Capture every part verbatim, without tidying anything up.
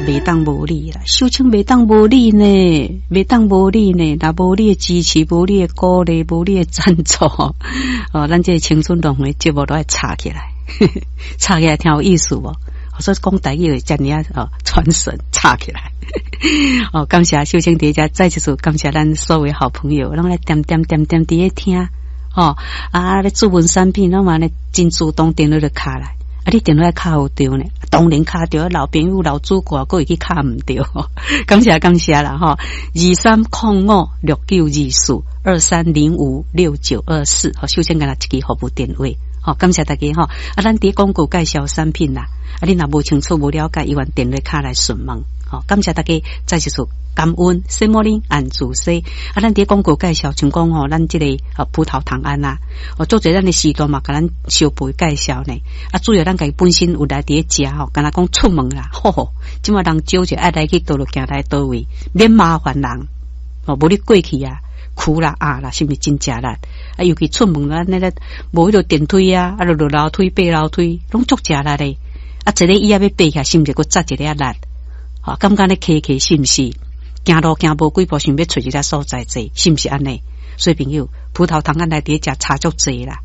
袂當無你啦，秀清袂當無你呢，袂當無你呢，若無你的支持，無你的鼓勵，無你的贊助，哦，咱這個青春樂園節目都愛吵起來，吵起來聽有意思無？所以講台語會遮爾仔哦，傳神吵起來。哦，感謝秀清佇遮，再一次感謝咱所有好朋友，攏來點點點點佇咧聽，哦，啊，咧注文產品，攏嘛咧真主動電話就敲來。啊！你電話敲有著呢？當然敲著，老朋友、老主顧，閣會去敲毋著。感謝感謝啦！吼，二三空五六九二四，二三零五六九二四。好，首先敢若一支服務電話。好，感謝大家吼。啊，咱佇廣告介紹產品啦。啊，你若無清楚、無了解，猶原電話敲來詢問。好，感謝大家，再一次感恩。什麼呢？按主說。啊，咱佇廣告介紹，像講吼，咱這個啊葡萄糖胺啊，哦，做者咱的時段嘛，共咱小輩介紹呢。啊，主要咱家己本身有來佇咧食吼，敢若講出門啦，吼吼，這馬人招者愛來去佗落行來佗位，免麻煩人。哦，無你過去啊，苦啦啊啦，是毋是真食力？啊，尤其出門咱那個無彼個電梯啊，啊，就落樓梯、爬樓梯，攏足食力咧。啊，一個椅仔欲爬起來，是毋是閣扎一个力？吼，感覺咧騎騎是毋是？行路行無幾步，想欲揣一个所在坐，是毋是按呢？所以朋友，葡萄糖胺來佇咧食差足濟啦。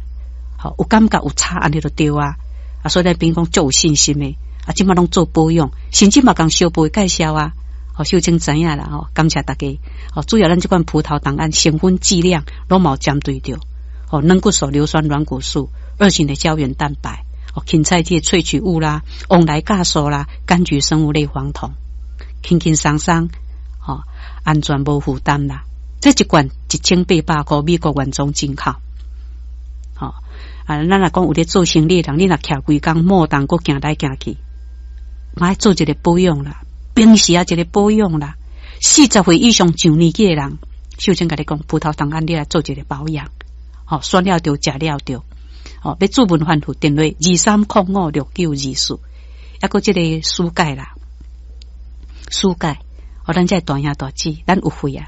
吼，有感覺有差按呢就對啊。啊，所以咱朋友講足有信心的。啊，這馬攏做保養，甚至嘛共小輩介紹啊。吼，秀清知影啦吼，感謝大家。吼，主要咱這款葡萄糖胺成分劑量攏嘛有針對著。吼，軟骨素、硫酸軟骨素、二型的膠原蛋白、哦，芹菜這個萃取物啦、旺來酵素啦、柑橘生物類黃酮，輕輕鬆鬆，吼，安全無負擔啦。這一罐一千八百箍，美國原裝進口。吼，啊，咱若講有咧做生理的人，你若徛規工莫動，閣行來行去，嘛愛做一個保養啦，平時啊一個保養啦。四十歲以上上年紀的人，秀清共你講，葡萄糖胺你來做一個保養，吼，選了著，食了著，吼，欲注文反覆電話二三空五六九二四，抑閣這個舒鈣啦，舒鈣，哦，咱這大兄大姊，咱有血啊，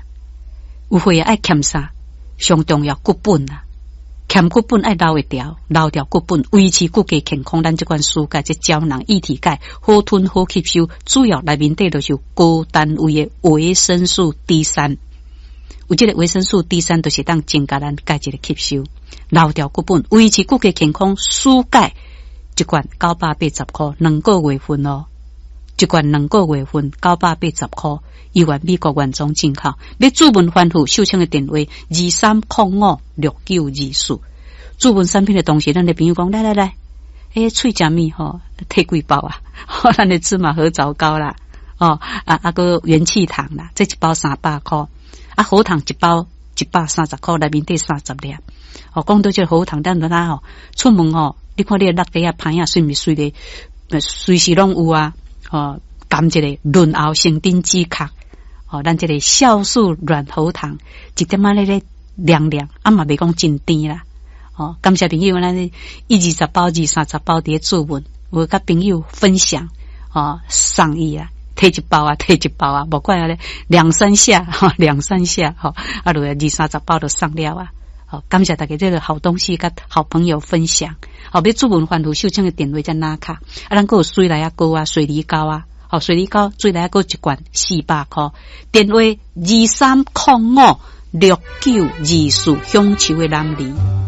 有血啊，愛欠啥？上重要骨本啊，欠骨本愛留會牢，留牢骨本，維持骨骼健康。咱這款舒鈣，這膠囊液體鈣，好吞好吸收，主要內面底就是有高單位的維生素 D 三。有這個維生素 D 三，就是當增加咱鈣質的吸收，留牢骨本，維持骨骼健康。舒鈣一罐九百八十箍，兩個月份哦。一罐兩個月份九百八十箍，猶原美國原裝進口。欲注文反覆秀清的電話二三空五六九二四。注文產品的同時，咱的朋友講來來來，欸，喙食物吼，提幾包啊？咱的芝麻核棗糕啦，哦啊啊閣元氣糖啦，這一包三百箍，啊喉糖一包一百三十箍，內面底三十粒。哦，講到這個喉糖，咱就吼出門吼，你看你的落地啊、旁仔，水毋是隨咧，隨時攏有啊。哦，含一個潤喉生津止咳，哦，咱這個酵素軟喉糖，一點仔咧咧涼涼，啊嘛袂講真甜啦。哦，感謝朋友，咱一二十包、二三十包佇咧注文，有佮朋友分享，哦，送伊啊，提一包啊，提一包啊，無怪啊咧，兩三下，吼，兩三下，吼，啊，就二三十包就送了啊。好，感謝大家這個好東西，佮好朋友分享。好，欲注文反覆秀清的電話才拿卡。啊，咱閣有水梨仔膏啊，水梨膏啊，好，水梨膏、水梨仔膏一罐四百箍。電話二三空五六九二四，享受的男兒。